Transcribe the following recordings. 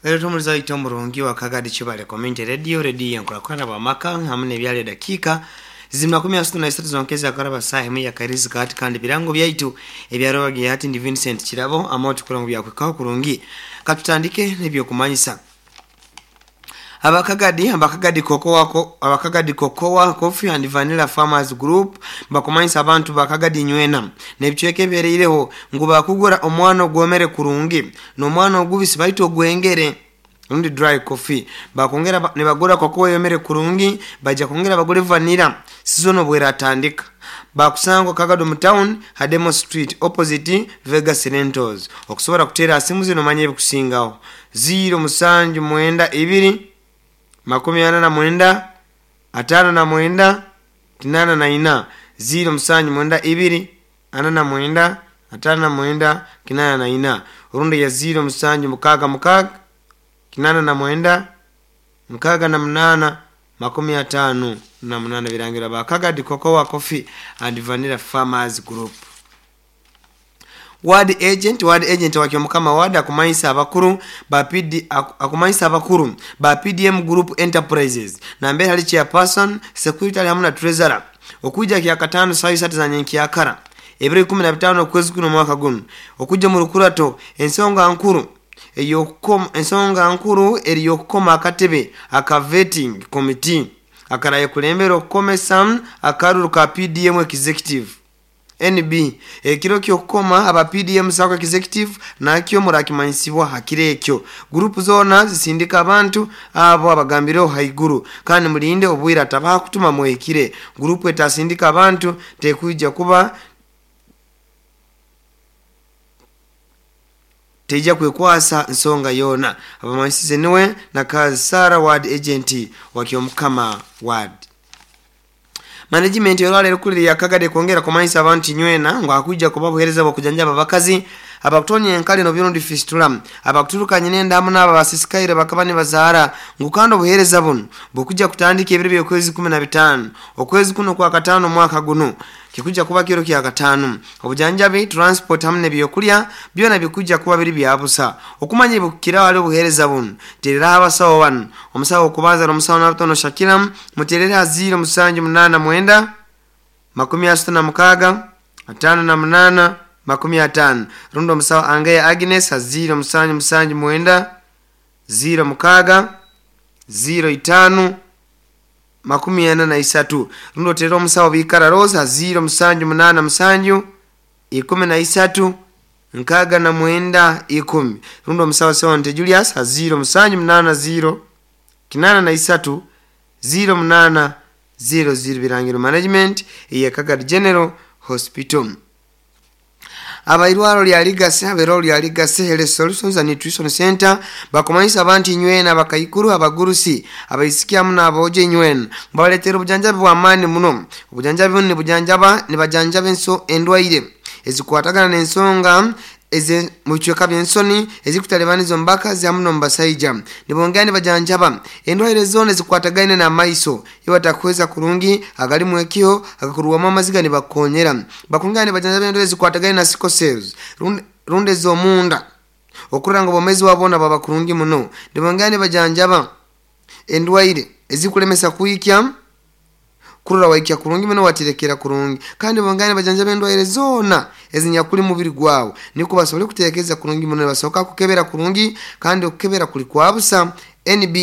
Lero tumuliza ito murungi wa Kagadi Chibale Community Radio, radio yenkurakurana bwamaka hamwe n'ebyalo edakiika ziri 63 zonkeza akaraba saa emu ya kairizi kati kandi birango byaitu ebyarobagiye hati ndi Vincent Kirabo amoti kurango byakwekaho kurungi. Katutandike n'ebyokumanyisa. Abakagadi kokoa abakagadi kokoa Coffee and Vanilla Farmers Group bakumanyisa abantu bakagadi nywena nebicweke ebereireho ngu bakugura omwana ogwomere kurungi n'omwana ogubisi baitu ogwengere rundi dry coffee. Bakongera nibagura kokoa yomere kurungi, baja kongera bagule vanilla season obweratandika. Bakusangwa Kagado mu town, Hademo Street, opposite Vegas Rentals. Okusobola kuteera simu zino manye ebikusingaho 0 musanju mwenda ibiri 49 59 84 0 musanju mwenda ibiri 49 59 84 orundi ya 0 musanju mukaaga mukaaga 89 68 58. Birangira ba Kagadi Cocoa Coffee and Vanilla Farmers Group. Ward agent wa Kyomukama ward akumanyisa abakuru ba PD, akumanyisa abakuru ba PDM Group Enterprises na mbere hali chairperson, secretary hamwe na treasurer okujja kya katano saa 3 za nyenkyakara ebiro 15 okwezi kuno mwaka guno okujja mu rukurato. Ensonga nkuru ensonga nkuru eri yokukoma akatebe aka vetting committee akaraye kulembera okukomesa akaruru ka PDM executive. NB ekiro kyokukoma aba PDM sako executive nakyo murakimanyisibwa hakire ekyo. Group zona zisindika abantu abo abagambireho haiguru kandi mulinde obwira atabaha kutuma mwekire. Group etasindika abantu tekujja kuba teja kwekwasa nsonga yona. Abamanyisize niwe na kazi Sara ward agent wa Kyomukama ward. Management yorale rukuliri ya Kagadi kwongera kumanyisa abantu nywena ngo akujja kuba buhereza bwo abakazi abakutonya enkali no birundi fistula abakuturuka nyinenda hamwe n'aba basisikaire bakaba nibazaara ngu kandi obuhereza buno bukujja kutandika ebiro by'okwezi 15 okwezi kuno kwa katano mwaka guno kikuja kuba kiro kya katano. Obujanjabi, transport hamwe n'ebyokulya byona bikujja kuba biri byabusa. Okumanya bukira wali obuhereza buno terera abasawo bano omusawo okubanza n'omusawo n'abatono Shakira muterera 0 musanju 8 9 66 58 50. Rundo omusawo Angeya Agnes 0 musanju musanju 9 0 6 0 5 43. Rundo terera omusawo Bikara Rosa 0 musanju 8 musanju 13 69 10. Rundo omusawo Sewante Julius 0 musanju 8 0 83 0 8 0 0. Birangiro management ya Kagadi General Hospital. Abairwaro lya Ligase, abairwaro lya Ligase Health Solutions and Nutrition Center bakumanyisa abantu inywena abakaikuru abagurusi abaisikia muno aboje inywena babaletera obujanjabi bw'amaani muno. Obujanjabi buno nibujanjaba nibajanjaba endwaire ezikwatagana n'ensonga eze mu bicweka by'ensoni ezikutalibaniza omu bakazi hamu n'omu basaija. Nibongera nibajanjaba endwaire zona ezikwatagaine n'amaiso iyo batakuhweza kurungi agalimu ekiho agakurwamu amaziga nibakonyera. Bakongera nibajanjaba endwaire ezikwatagaine na sickle cells rundi ez'omunda okurora ngu obwomezi bwabo baba kurungi muno. Nibongera nibajanjaba endwaire ezikulemesa kuikya kurora waikya kurungi muno watirekera kurungi kandi bongera nibajanjaba endwaire zona ezinyakuli mubiri gwawe niko basobole kuteekeza kurungi muno. Basoka kukebera kurungi kandi okukebera kuli kwa busa. NB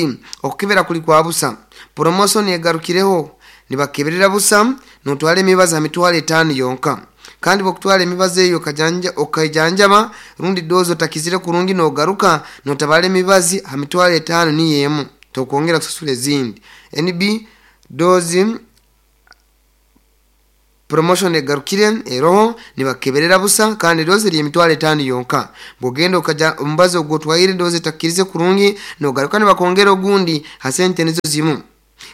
okukebera kuli kwa busa. Promotion egarukireho nibakeberera busa notwale emibazi mitwalo 5 yonka kandi bokutwala emibazi eyo okajanjaba rundi dozo takizire kurungi nogaruka notabale emibazi ha mitwalo 5 niyo emu tokwongera kusasula ezindi. NB dozi promotion egarukire eroho nibakeberera busa kandi dozi eri emitwalo 5 yonka. Bwogenda okaja omubazi ogwo otwaire dozi takirize kurungi nogaruka nibakongera ogundi ha sente nizo zimu.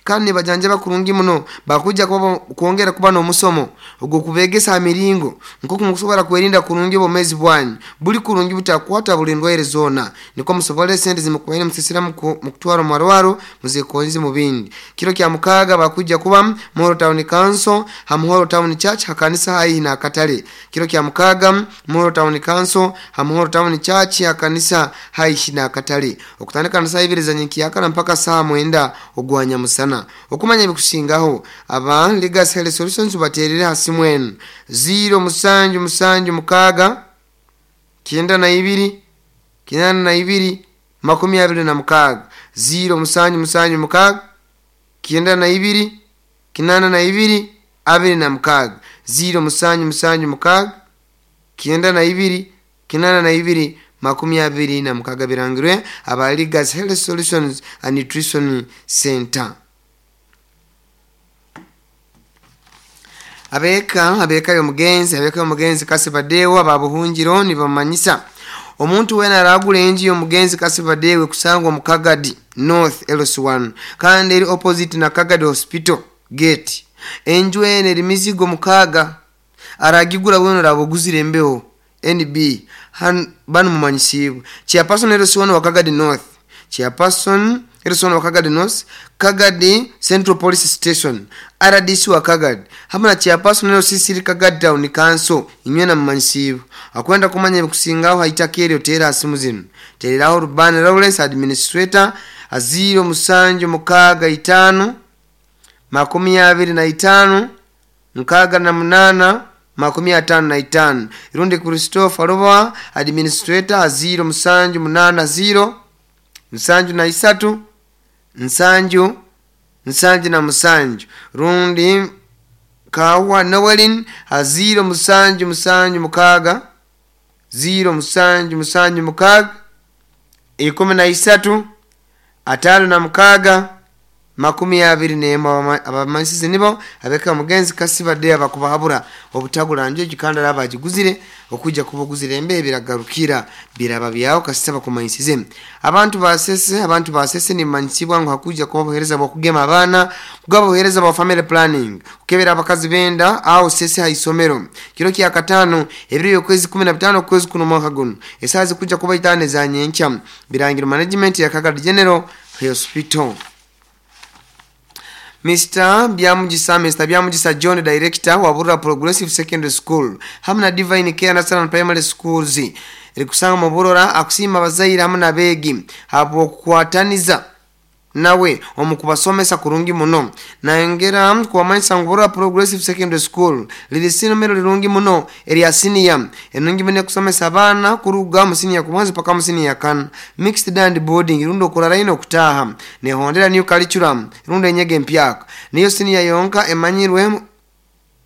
Kandi nibajanjaba kurungi muno. Bakujja kwongera kuba n'omusomo ogw'okubegesa ha miringo nk'oku mukusobora kwerinda kurungi obwomeezi bwanyu buli kurungi butakwata buli ndwaire zoona, nikwo musobole sente zimukubaire musisira mukutwara omumarwaro muzekonze mu bindi. Kiro kya mukaaga bakujja kuba Muhoro Town Council ha Muhoro Town Church hakanisa haihi n'akatale. Kiro kya mukaaga Muhoro Town Council ha Muhoro Town Church hakanisa haihi n'akatale, okutandika na saa ibiri za nyenkyakara mpaka saa 9 ogwa nyamusana. Okumanya ebikusingaho aba Legacy Health Solutions baterere ha simu enu 0776 92 82 26, 0776 92 82 26, 0776 92 82 26. Birangirwe aba Legacy Health Solutions and Nutrition Center. Abeka y'omugenzi Kasibadewa babuhungiro nibamanyisa omuntu wena aragula enju y'omugenzi Kasibadewe kusangwa mu Kagadi North LC1 kandi eri opposite na Kagadi Hospital gate. Enju ene eri mizigo mukaaga aragigura wena arabuguzire embeho NB banu mumanyisibwe. Chairperson LC1 wa Kagadi North, Chairperson LC1 wa Kagadi North, Kagadi Central Police Station, RDC wa Kagadi hamwe na Chairperson LC3 Kagadi Town Council inywe na mumanyisibwe. Akwenda kumanya ebikusingaho haitakeri otera asimu zinu. Tereraho Rubani Lawrence Administrator 0765 25 68 55. Irundi Christopher Roba Administrator 0780 73 7 77. Rundi Kawa Noelin 0776 0776 13 56 21. Abamanyisize nibo abeka mugenzi Kasibadde abakubahabura obutagula njo gikanda abagiguzire okujja kubuguzira embe biragarukira biraba byawo kasita bakumanyisize. Abantu basese nimanyisibwa ngo hakuja kuba buhereza bwa kugema abaana, kugaba buhereza bwa family planning, kukebera abakazi benda au sese haisomero. Kiro kya katano ebiro yokwezi 15 kwezi kuno mwaka guno esazi kuja kuba itane za nyenkya. Birangiro management ya Kagadi General Hospital. Mr. Byamugisa John Director wa Burra Progressive Secondary School hamwe na Divine Care National Primary Schools erikusanga mu Burora akusima abazaire hamwe n'abeegi habwokukwataniza nawe omukubasomesa kurungi muno. Nayongera kubamanyisa ngu Burora Progressive Secondary School liri sinomero lirungi muno erya senior enungi muno kusomesa abaana kuruga mu senior kubanza paka mu senior kana mixed and boarding rundo okurara ino okutaha nehondera new curriculum rundo enyege empyaka niyo senior yonka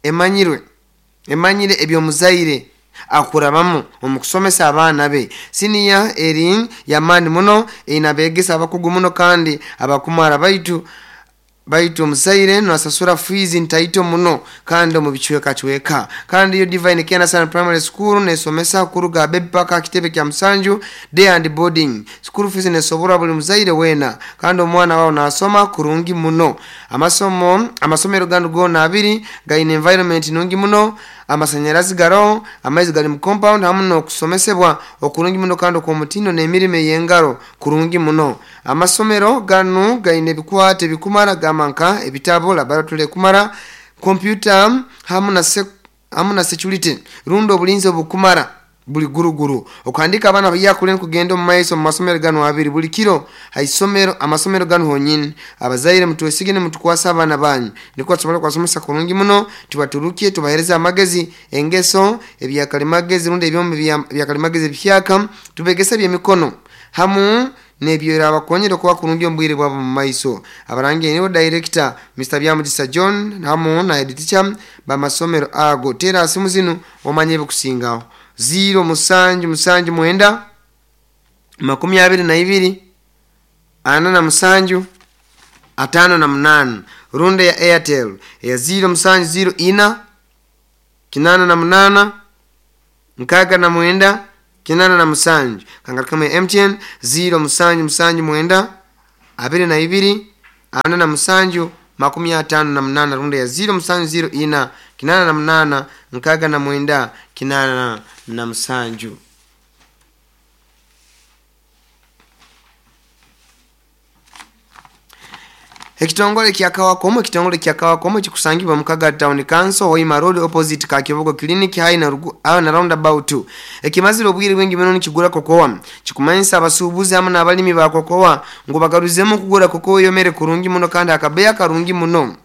emanyire ebyomuzaire akurabamu omukusomesa abaana be. Senior eri yamani muno inabegesa abakugu muno kandi abakumara baitu omuzaire nasasura fees ntaito muno kandi mu bichweka chweka. Kandi yo Divine Care National Primary School nesomesa kuruga baby paka kitebe kya musanju day and boarding. School fees nesobora buli muzaire wena kandi omwana wao nasoma kurungi muno. Amasomero ganu gona abiri gaine environment nungi muno, amasanyarazi garo, amaizi gali mu compound hamwe n'okusomesebwa okurungi muno kandi okw'omutindo n'emirimo ey'engaro kurungi muno. Amasomero ganu gaine ebikwate bikumara gamanka ebitabo, laboratory kumara, computer hamwe na security rundo obulinzi obukumara buli guruguru. Okandika abaana bayakule kugenda omu maiso mu masomero ganu abiri buli kiro haisomero amasomero ganu honyini. Abazaire mutwesigene mutukwasa abaana banyu niko tusobora kwasomesa kurungi muno, tubaturukie tubahereza amagezi engeso ebyakalimagezi rundi ebyombe byakalimagezi ebihyaka tubegesa byemikono hamu nebyera abakonyera kuba kurungi ombwire bwabo mu maiso. Abarangi nibo Director Mr. Byamugisa John hamu na head teacher bamasomero ago. Tera asimu zinu omanye ebikusingaho 0779 22 47 58. Runde ya Airtel ya 0704 88 69 87. Kangaruka mu MTN 0779 22 47 58, rundi ya 0704 88 69 87. Ekitongole kya Kawakomo. Ekitongole kya Kawakomo kikusangibwa mu Kagadi Town Council, Hoima Road, opposite Kakibogo Clinic, hai na na roundabout. Ekimazire obwire bwingi muno nikigura kokowa, kikumanyisa abasuubuzi hamwe n'abalimi ba kokowa ngu bagaruzemu kugura kokowa eyomere kurungi muno kandi akabeya karungi muno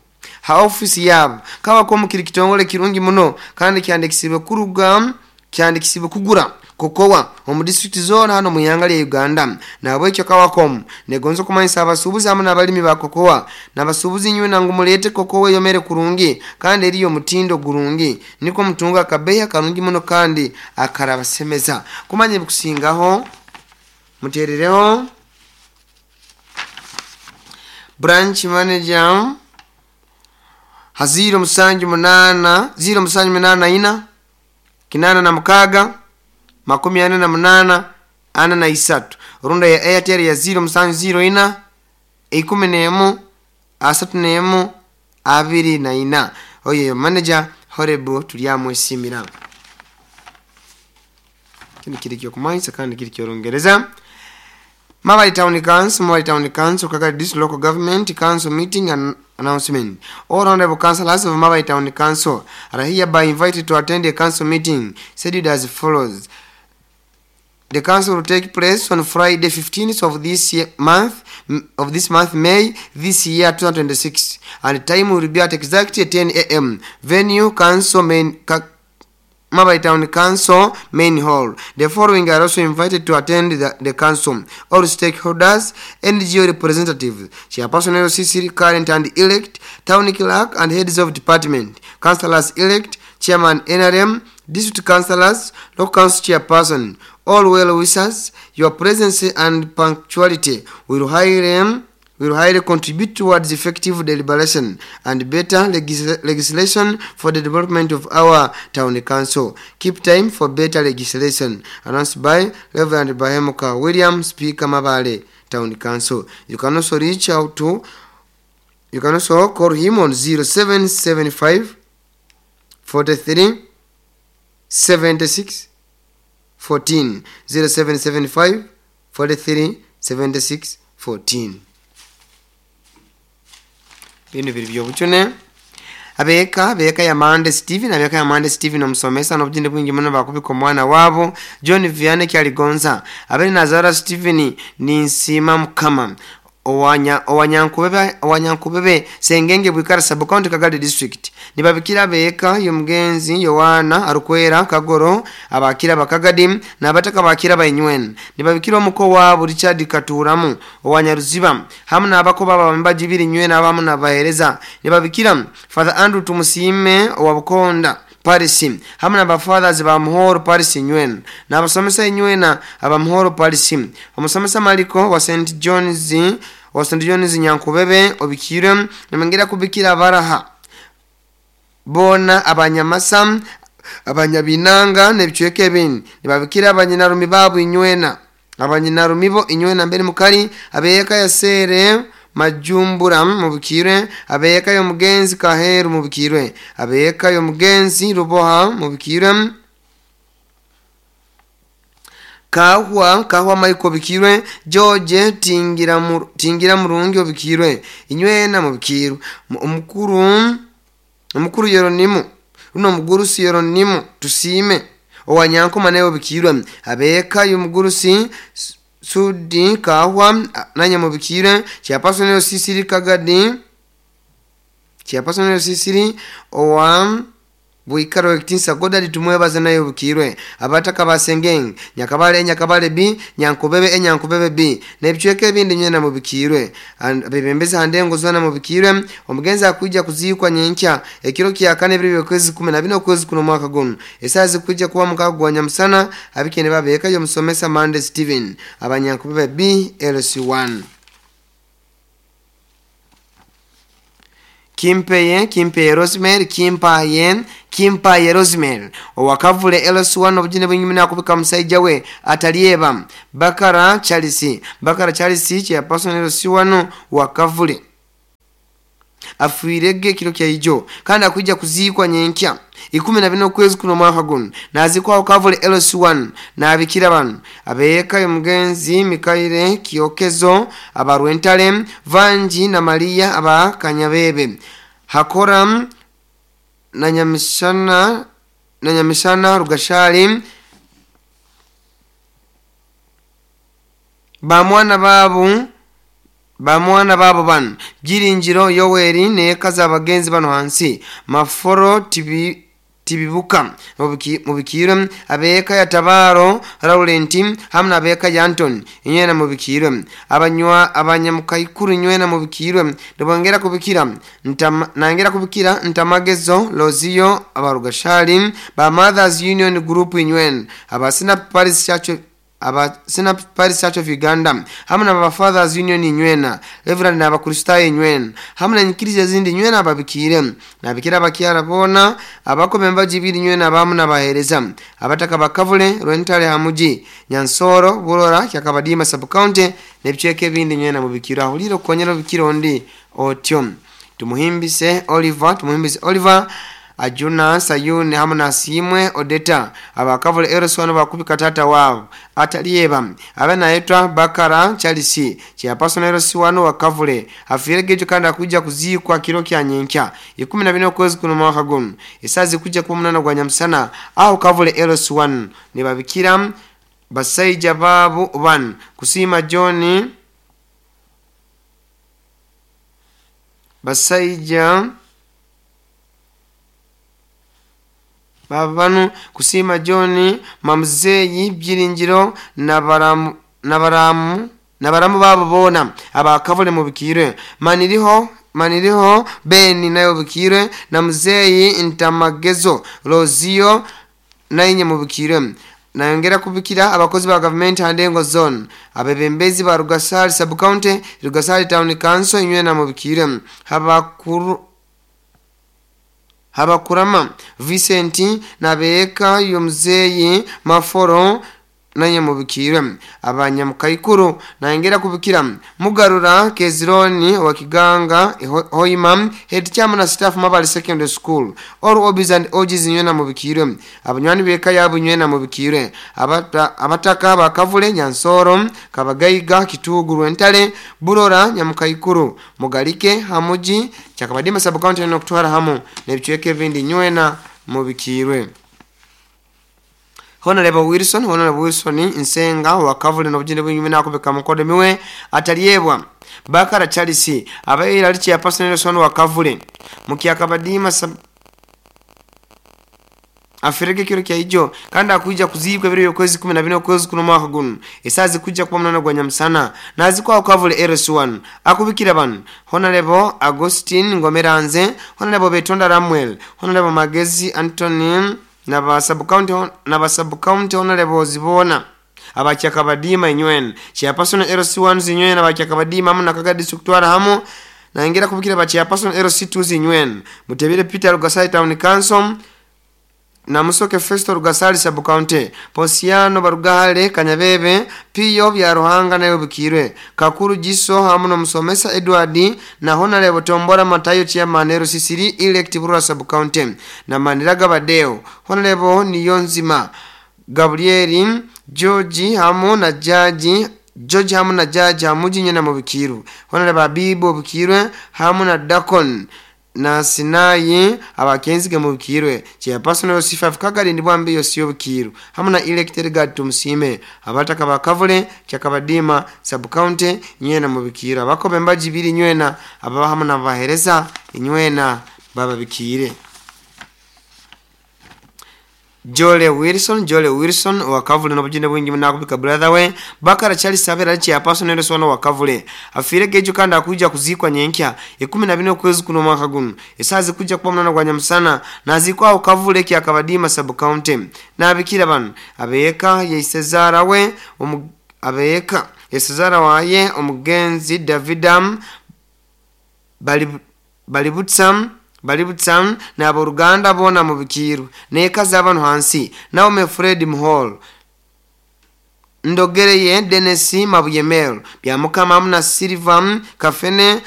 ha ofisi yabo. Kawakomo kiri kitongole kirungi muno kandi kyandikisibwe kuruga kyandikisibwe kugura kokowa omu district zona hano mu ihanga lya Uganda. Nahabwekyo Kawakomu negonza okumanyisa abasuubuzi hamwe n'abalimi ba kokowa n'abasuubuzi inywe nangu muleete kokowa eyomere kurungi kandi eriyo omutindo gurungi, nikwo mutunga akabeeyi karungi muno kandi akarabasemeza. Kumanya ebikusingaho muteerereho branch manager ha 078 078 86 48 43, runda ya Airtel ya 0704 11 31 24. Oyo manager Horebu tulyamwesimira. Kino kiri kyokumanyisa kandi kiri kyorungereza. Mabali Town Council, Mabali Town Council, Kagadi District Local Government Council meeting and announcement. All honorable councillors of Mabali Town Council are hereby invited to attend a council meeting scheduled as follows. The council will take place on Friday 15th of this year, month of this month May this year 2026, and the time will be at exactly 10 a.m. Venue Council Main Mabali Town Council Main Hall. The following are also invited to attend the council: all stakeholders, NGO representatives, chairperson LCC current and elect, town clerk and heads of department, councillors elect, chairman NRM, district councillors, local council chairperson. All well wishers, your presence and punctuality will highly contribute towards effective deliberation and better legislation for the development of our town council. Keep time for better legislation. Announced by Reverend Bahemuka William, Speaker, Mabale Town Council. You can also reach out to, you can also call him on 0775 43 76 14, 0775 43 76 14. Bino biri byobucune. Abeka ya Mande Steven, abeka ya Mande Steven omusomesa n'obuginde bwingi muno bakubika omwana wabo John Vianney Kyaligonza. Abere Nazara Steven ninsima Mukama owanyankubebe Sengenge Bwikara Sub County Kagadi District. Nibabikira abeka y'omugenzi Yohana Arukwera Kagoro abakira bakagadi n'abataka bakira bayinywen. Nibabikira omuko wabo Richard Katuramu owanyaruziba hamwe n'abako baba mbajibiri nywe n'abamu n'abahereza. Nibabikira Father Andrew Tumusime owa Bukonda Paris hamwe n'abafathers ba Muhoro Paris nywen n'abasomesa inywena aba Muhoro Paris. Omusomesa Maliko wa St John's wa St John's Nyankubebe obikire namengera kubikira baraha bona abanyamasa abanyabinanga n'ebicweka ebindi. Nibabikira abanyinarumi babu inywena abanyinarumi bo inywena mbere mukali abeyeka yasere Majumbura mubikirwe, abeyeka y'omugenzi Kaheru mubikirwe, abeyeka y'omugenzi Ruboha mubikirwe, Kahwa Michael bikirwe, George Tingira Murungi obikirwe, inywena mubikirwe. Omukuru Yeronimu runo omugurusi Yeronimu Tusime owanyankoma naye obikirwe, abeyeka y'omugurusi Sudi Kahwa nanya mubikire, chairperson Sisiri Kagadi, chairperson Sisiri owa Bwikaro ekitinsa Godard tumwebaza naye obukirwe. Abataka basengeng Nyakabale Nyakabale B Nyankubebe Nyankubebe B n'ebicweka ebindi nywena mubikirwe. Abebembezi handengo zona mubikirwe. Omugenzi akuja kuzikwa nyenkya ekiro kya kane biri kwezi 14 okwezi kuno mwaka guno. Esazi kuja kuwa mukago gwa Nyamusana abikene babeka yo musomesa Mande Steven abanyankubebe B LC1. Kimpeye Rosemary, Kimpaye Rosemary owakavule LC1 obujine bwingi mina kubika musaija we atalieba Bakara Charles chairperson LC1 wakavule. Afiirege ekiro kyaijo kandi akwija kuziikwa nyenkya 14 okwezi kuno omwaka guno naziikwaho Kavule LC1. Nabikira bano abeeka omugenzi Mikaire Kyokezo aba Rwentale, Vanji na Maria aba Kanyabebe, Hakora na Nyamishana Rugashali, bamwana babo bano Byiringiro Yoweri neeka z'abagenzi bano hansi Maforo Tibibuka mubikirwe, abeeka ya Tabaro Laurenti hamwe n'abeeka ya Antoni inywena mubikirwe, abanywa abanyamukaikuru inywena mubikirwe. Nibongera kubikira nangera kubikira Ntamagezo Lozio abarugashali ba Mothers Union Group inywena, abasina Paris Church aba Sinap Paris Church of Uganda hamwe n'aba Fathers Union inywena, Reverend n'abakristayo inywena hamwe n'enyikiriza ezindi inywena ababikire. Nabikira abakyara boona abakoma embaji ibiri inywena abamu n'abaheereza abataka bakavule Rwentale Hamuji Nyansoro Burora Kyakabadima Sub-County n'ebicweka ebindi inywena mubikire. Ahulire okukonyera obikire ondi otyo. Tumuhimbise Oliver Ajuna Sayuni hamwe na Simwe Odeta abakavule Eroswano bakubika tata wabo atalieba abe naitwa Bakara Charles chairperson Eroswano wakavule afiregejo kandi akuja kuziikwa kiro kya nyenkya 14 okwezi kuno mwaka guno esazi kuja kuba 8 gwa nyamusana aho Kavule Eroswano nibabikira basaija babu ban Kusima John basaija babanu Kusima John Mamzeyi Byiringiro na baramu babo bona abakavule mubikirwe, Maniriho Beni nayo bikirwe na Mzeyi Ntamagezo Rozio nainye mubikirwe. Nayongera kubikira abakozi ba government Handengo zone, abebembezi ba Rugasari Sub County, Rugasari Town Council inywena mubikirwe, Habakurama Vincent nabeeka yomzeyi Maforo naye mubikirwe, abanyamukaikuru. Nayongera kubikira Mugarura Kezironi wa Kiganga Hoima head chairman na staff Mabali Secondary School, all obis and ogis nywena mubikirwe, abanywani beka yabo nywena mubikirwe, abataka bakavule Nyansoro Kabagaiga Kitugu Rwentale Burora Nyamukaikuru Mugalike Hamuji Kyakabadima Sub County no kutwara hamu n'ebicweka ebindi nywena mubikirwe. Honorable Wilson Nsenga wakavule n'obujinde bw'inyuma nakubika mukodo miwe ataliebwa Bakara Charles abaira ali chairperson Nelson wakavule mukyakabadima afireke kiro kya ijo kandi akuija kuziikwa ebiro by'okwezi 14 okwezi kuno mwaka guno esazi kuja kuba 8 gwa nyamusana nazikwa Kavule RS1 akubikira bano Honorable Augustine Ngomeranze, Honorable Betonda Ramuel, Honorable Magezi Anthony na ba sub-county Honorable Zibona abakyakabadima inywena chairperson LC1 zinywena abakyakabadima hamwe na Kaga district twara hamu. Naingira kubikira ba chairperson LC2 zinywena Mutebire Peter Rugasari Town Council na Musoke Festo Rugasari Sub County, Posiano Barugahale Kanyabebe Piyo bya Ruhanga nayo bikirwe, Kakuru Jiso hamwe na Musomesa Edward na Honorable Tombora Matayo chairman LC3 elect Burora Sub County na Maniraga Badeo, Honorable Niyonzima Gabrieli George hamwe na Jaji George hamwe na Jaji Hamuji nyena mubikiru, Honorable Abibo bikirwe hamwe na Dakon na Sinayi abakenzige mubikirwe, chairperson LC5 Kagali ndibwambi yosiyo bukiru hamwe na elected guard Tumusime abataka bakavule Kyakabadima Sub County nywena mubikirwe, abakobe mbaji biri nywena ababa hamwe na bahereza inywena bababikire. Jole Wilson wakavule n'obujinde bwingi nakubika brother we Bakara Charles abera chairperson Nelson wakavule afiregejo kandi akuja kuzikwa nyenkya 14 okwezi kuno mwaka guno esazi kuja kuba 8 gwa nyamusana nazikwa Kavule Kyakabadima Sub County. Nabikira bano abeeka yeisezara we abeeka yesezara waye omugenzi Davidam Balibutsam n'aboluganda bona mubikiru neeka z'abano hansi Naome Fred Muhol Ndogereye Dennis Mabuyemel Byamukama hamu na Silva Kafene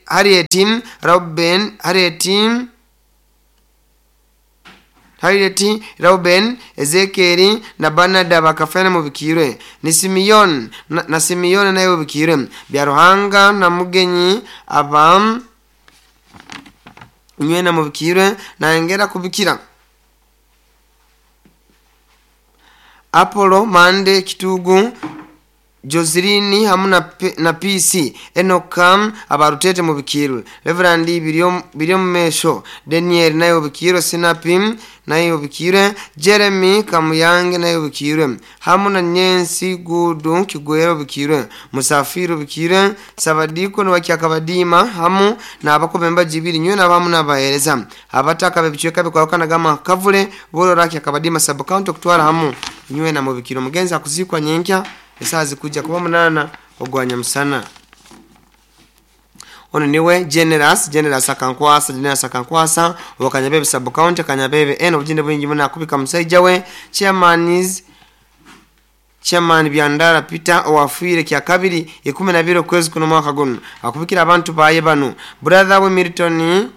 Harriet Rauben Harriet Rauben Ezekiel na Bernard bakafene mubikirwe ni Simeon na Simeon naye bubikirwe Byaruhanga na Mugenyi aba nywena mubikirwe na kubikira Apollo Mande Kitugu Joseline hamu na PC Enokam abarutete mubikirwe Reverend Biryo Mesho Daniel naye bubikirwe Sinapi naye bubikirwe Jeremy Kamuyange naye bubikirwe hamu na Nyensi Gudu Kigwero bubikirwe Musafiri bubikirwe Sabadiko no wakyakabadima hamu na abakobemba jibiri nywe na bamu nabahereza abataka bebicweka bikwakana gama kavule boro rakyakabadima sub county kutwara hamu nywe na mubikiro mugenzi akuzikwa nyenkya esazi kuja kuba 8 ogwanya musana. Ono niwe Generous akankwasa wakanyabebe sub county Kanyabebe eno obujinde bwingi muna kubika musajja we chairman Byandara Peter owafuire kya kabiri 12 kwezi kuno mwaka guno akubikira abantu baye bano brother we Milton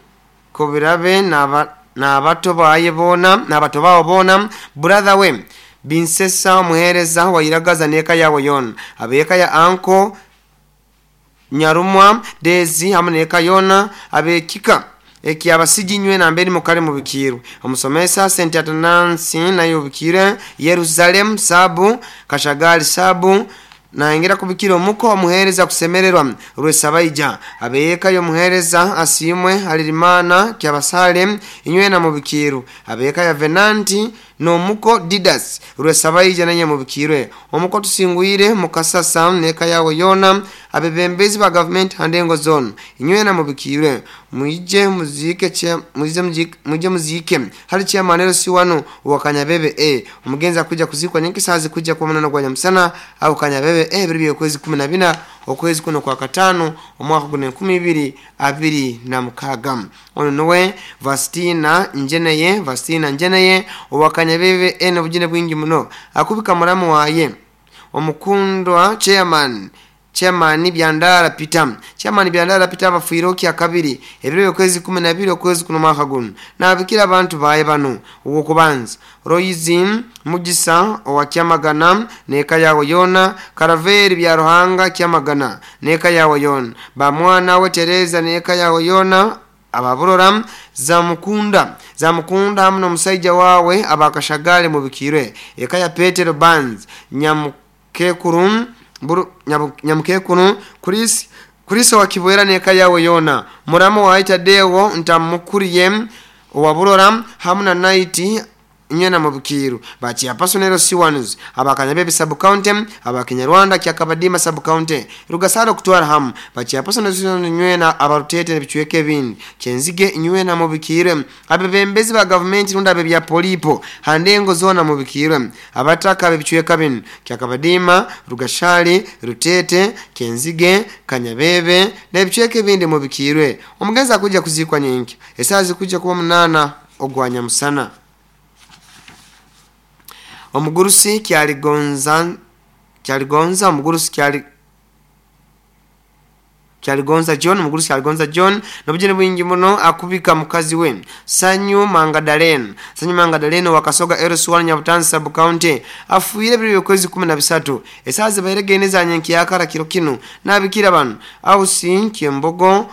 Kobirabe na abato baye bona na abato bawo bona brother we Binsesa omuhereza wairagaza neka yawe yona abeka ya anko Nyarumwa Dezi hamwe neka yona abekika eki abasiji nywe na mberi mukale mubikirwe omusomesa St Atanasi nayo bikire Yerusalem sabu Kashagali sabu naingira kubikira omuko omuhereza kusemererwa Rwesabaija abeka yo muhereza asimwe alirimana kyabasale inywe na mubikiru abeka ya Venanti no muko Didas Rwesabaija nanye mubikirwe omuko tusingwire mukasasa neka yawe yona abebembezi ba government handengo zone inywe na mubikirwe muije muzike muje muzike hali chairman si wano wakanyabebe omugenzi akuja kuzikwa nyinki sazi kuja kwa munana kwa nyamsana au Kanyabebe biri okwezi 14 okwezi kuno kwa katano omwaka guno 2026. Ono nowe Vastina Njeneye owakanyabebe eno bujine bwingi muno akubika mulamu waye omukundwa chairman Byandara Peter abafuire kya kabiri ebiro okwezi 12 okwezi kuno mwaka guno nabikira abantu baye bano uwo kubanza Roizim Mugisa owa Kyamagana neka yawe yona Karaveri Byaruhanga Kyamagana neka yawe yona bamwana we Tereza neka yawe yona ababurora zamukunda hamwe n'omusajja wawe abakashagale mubikirwe eka ya Petero Banz nyamukekuru Kristo wa Kibwera neka yawe yona muramo wa Itadewo ntamukuriye owaburora hamwe na Naiti nyena mubikiru bachi apasonero siwanuzi abakanyabebe sub county abakinyarwanda kyakabadima sub county Rugasaro kutwara hamu bachi apasonero siwanuzi nywena abarutete nebichweke bindi Kyenzige nywena mubikire abebembezi ba government runda abe bya polipo handengo zona mubikire abataka abebichweka bindi Kyakabadima Rugashali Rutete Kyenzige Kanyabebe nebichweke bindi mubikirwe omugenzi akuja kuzikwa nyinki esazi kuja kuba 8 ogwanya musana. Omugurusi kyaligonza omugurusi kyaligonza John omugurusi kyaligonza John nobujene bwingi muno akubika mukazi we Sanyu Mangadalene wakasoga Eros1 Nyabutanzi sub county afuire biri okwezi 13 esazi bayiregene zanyenki yakara kiro kino nabikira bano ausi Kyembogo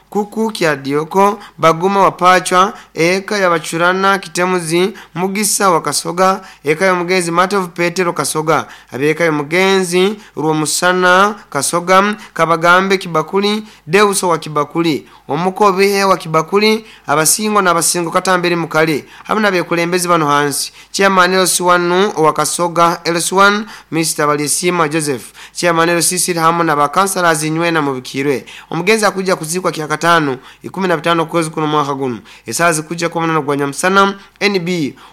kuku kya Dioko Baguma wapachwa eka ya Bachurana Kitemuzi Mugisa wakasoga eka ya mugenzi Matov Petero Kasoga abeka ya mugenzi Ruomusana Kasoga Kabagambe Kibakuli Deuso wa Kibakuli omukobe wa Kibakuli abasingo na abasingo katambere mukali hamwe nabekulembezi bano hansi chairman LC1 wa Kasoga LC1 Mr Balisima Joseph chairman LC hamwe na bakansalas nywena mubikirwe omugenzi akuja kuzikwa kya katano 15 kwezi kuno mwaka guno esazi kuja kwa munana gwa nyamusana NB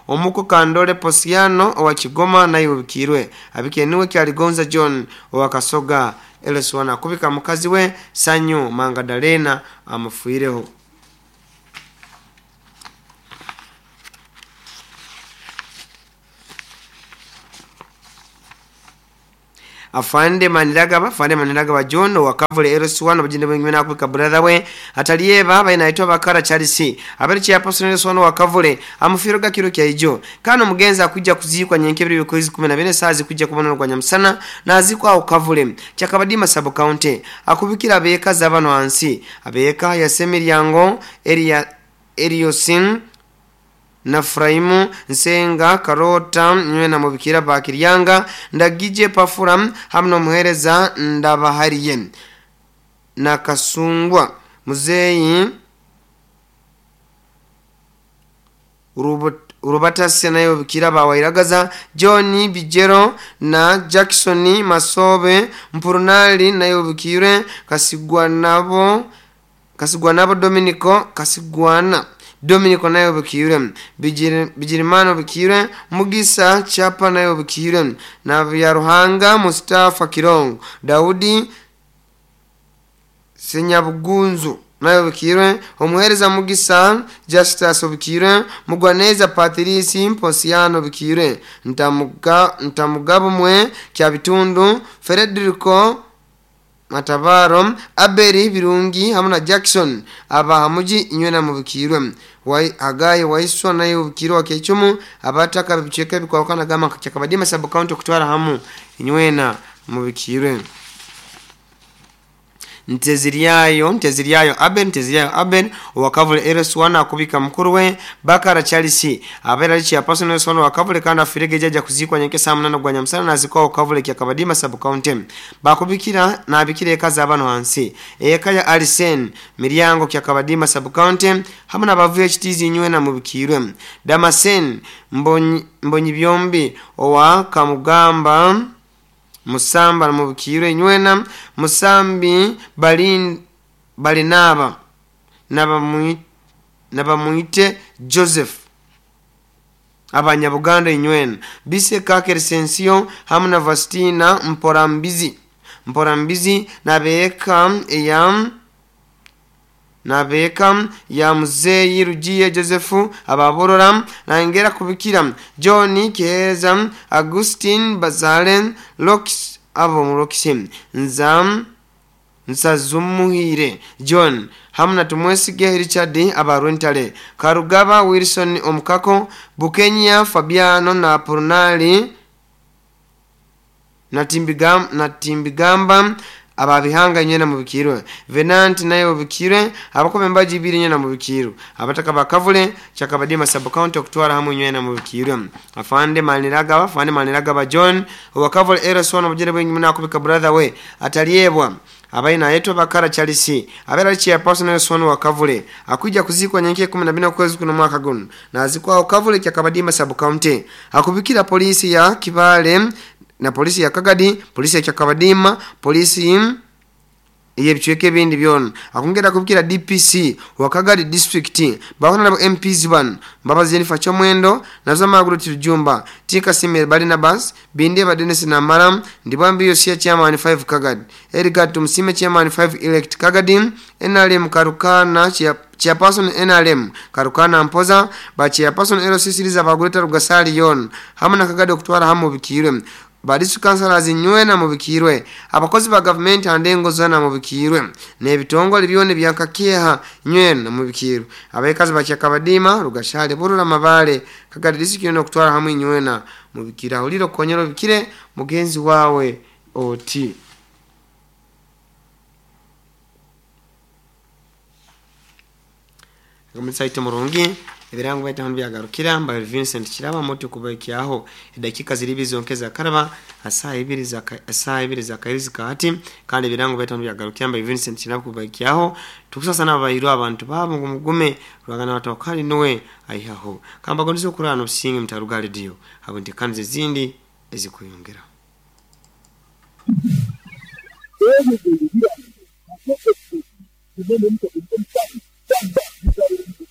omuko Kandole Posiano owa Kigoma naye ubikirwe abikeniwe kyaligonza John owa Kasoga LC1 akubika mukazi we Sanyu Mangadalena amufuireho. Afande Maniragaba, Afande Maniragaba John wakavule LS1 obujinde bwengime nakubika brother we atalieba bainaitwa Bakara Charles abali chairperson LS1 wakavule amufiro gakiro kya ijo kano mugenza akujja kuzikwa nyenkebiri bikozi 14 sazi kujja kubona rwa nyamusana nazikwa ukavule Kyakabadima sub county akubikira abeka zabano hansi abeka ya Semiryango area Eriosin na Fraimu Nsenga Karota nywe na mubikira Bakiryanga Ndagije Pafura hamwe n'omuhereza Ndabahariye na Kasungwa Muzeyi Urubatasi nayo bikira bawairagaza John Bijero na Jackson Masobe Mpurunali nayo bikire Kasigwa nabo Dominico Kasigwana Dominico nayo bikire Bijirimano bikire Mugisa Chapa nayo bikire na Byaruhanga Mustafa Kirongo Daudi Senyabugunzu nayo bikire omuhereza Mugisa Justus bikire Mugwaneza Patrice Mposiano bikire Ntamugabo mwe kya bitundu Frederico Matabaro Aberi Birungi hamwe na Jackson aba hamuji inywe na mubikirwe Hagayi waiswa nayo bikirwa kechumu abataka bicheka bikwakana gama Kyakabadima sub county kutwara hamu inywe na mubikirwe Nteziryayo Abel wakavule LS1 akubika mukuru we Bakara Charles abera ali chairperson LS1 wakavule kandi afirege jaja kuzikwa nyenke saa 8 gwa nyamusana nazikwa wakavule Kyakabadima sub county bakubikira nabikira eka zabano hansi eka ya Alisen Miryango Kyakabadima sub county hamwe n'abavuye HTZ nywe na mubikirwe Damasen Mbonyi byombi owa Kamugamba Musamba mubikirwe nywena Musambi Balinaba Nabamuite Joseph abanyabuganda inywena Bise Kakersensio hamwe na Vastina Mporambizi nabeka ya Muzeyi Rugiye Joseph ababorora nangera kubikira John Keza Augustin Bazalen Lox abo muroxim Nzam Nsazumuhire John hamwe na Tumwesige Richard abaruntale Karugaba Wilson Omukako Bukenya Fabiano na Purnali na Timbigamba ababihanga nyena mubikirwe Venant nayo bikirwe abakobe mbaji ibiri nyena mubikirwe abataka bakavule Kyakabadima sub county okutwara hamwe nyena mubikirwe Afande Maniragaba John wakavule LS1 obujere bwengi nakubika brother we ataliebwa abaina yetu Bakara Charles abera chairperson LS1 wakavule akuja kuzikwa nyenke 14 kwezi kuno mwaka guno nazikwa wakavule Kyakabadima sub county akubikira polisi ya Kibale na polisi ya Kagadi, polisi ya Kyakabadima, polisi yebichweke bindi byona akongera kubikira DPC wa Kagadi district bakona nabo MPs ban Mbabazi Jennifer Chomwendo nazo Maguru Tijumba Tika Simel Barnabas Binde Badenesi na Maram Ndibambi Yosia chairman 5 Kagadi Edgar Tumsime chairman 5 elect Kagadi NRM Karukana chairperson NRM Karukana Mpoza ba chairperson LC Siriza baguleta Rugasali yon hamwe na Kagadi okutwara hamu bikirwe Badisu councillors nywena mubikirwe abakozi ba government andengo zana mubikirwe n'ebitongole byone byankakeha nywena mubikirwe abekazi ba Kyakabadima Rugashale Burura Mabale Kagadi district no kutwara hamwe nywena mubikira uliro konyero bikire mugenzi wawe oti Gomutsaite murungi ebirango baita byagarukira mba Vincent Kiraba moto kubaikiaho edakika ziribi zonkeza karaba asaa ibiri za kairizi kahati kandi ebirango baita byagarukira mba Vincent Kiraba kubaikiaho tukusasa n'abayiro abantu babo ngo mugume rwagana batokali nowe aihaho kamba gondizo kurano businge mtaruga radio abo ntikanze zindi ezikuyongera